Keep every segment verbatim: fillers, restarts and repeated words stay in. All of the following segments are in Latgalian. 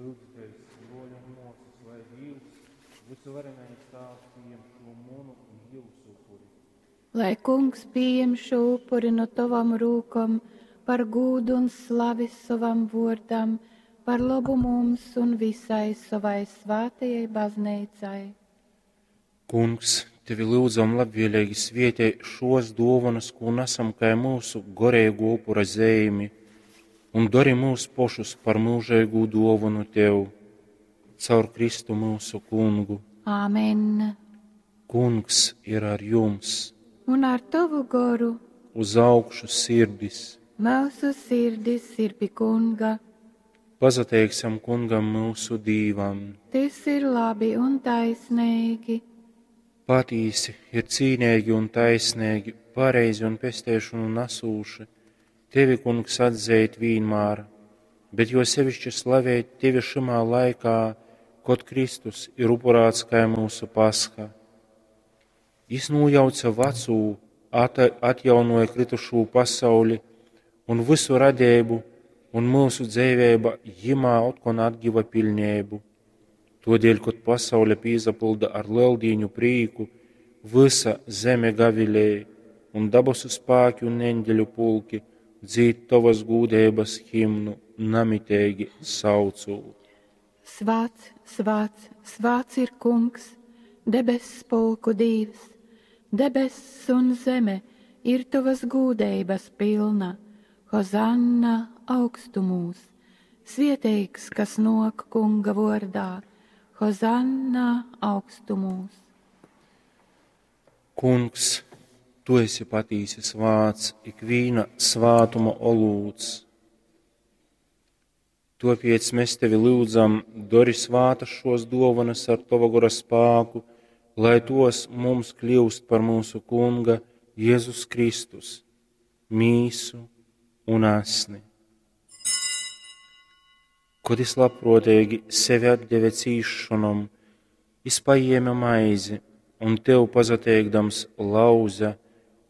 Lyudzitēs, bruoļi un muosys, lai Dīvs, vysuvarenais Tāvs, pījem šū munu un jiusu upuri. Lai Kungs pījem šo upuri nu tovom rūkom par gūdu un slavi sovam vuordam, par lobu mums un visai sovai svātajai bazneicai. Kungs, tevi lyudzam labvieleigi svietej šuos duovonys, kū nasam kai myusu goreiguo upura zeimi, un dori myus pošus par myužeigu duovonu tev. Caur Kristu myusu Kungu. Āmen. Kungs ir ar jums. Un ar tovu goru. Uz augšu sirdis. Myusu sirdis ir pi Kunga. Pasateiksim Kungam myusu Dīvam. Tys ir labi un taisneigi. Patīsi ir cīneigi un taisneigi, pareizi un pesteišonu nasūši, tevi, Kungs, atzeit vīnmār, bet jo sevišķi slavēt tevi šymā laikā, kod Kristus ir upurāts kai myusu pasha. Jis nūjauce vacū, ata, atjaunoja kritušū pasauli un vysu radeibu, un myusu dzeiveiba jimā otkon atgiva piļneibu. Tuodēļ, kod pasaule pīsapylda ar Leldīņu prīku, vysa zeme gavilej, un dabasu spāki un eņģeļu pulki dzīd tovas gūdeibas himnu, namiteigi saucūt. Svāts, svāts, svāts ir Kungs, debess pulku Dīvs, debess un zeme ir tovas gūdeibas pilna. Hozanna augstumūs, svieteigs, kas nok Kunga vordā, Hozanna augstumūs. Kungs, tu esi patīsi svāts, ikvīna svātuma olūts. Tuopiec mēs tevi lyudzam, dori svātas šos duovanas ar tova gora spāku, lai tos mums kļūst par mūsu Kunga Jēzus Kristus, mīsu un asni. Kod jis labpruoteigi sevi atdeve cīsšonom, jis pajieme maizi un tev pasateikdams lauze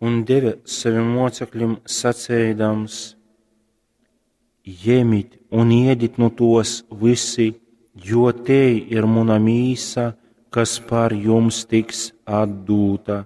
un deve savim moceklim saceidams: Jemit un iedit nu tos vysi, jo tei ir muna mīsa, kas par jums tiks atdūta.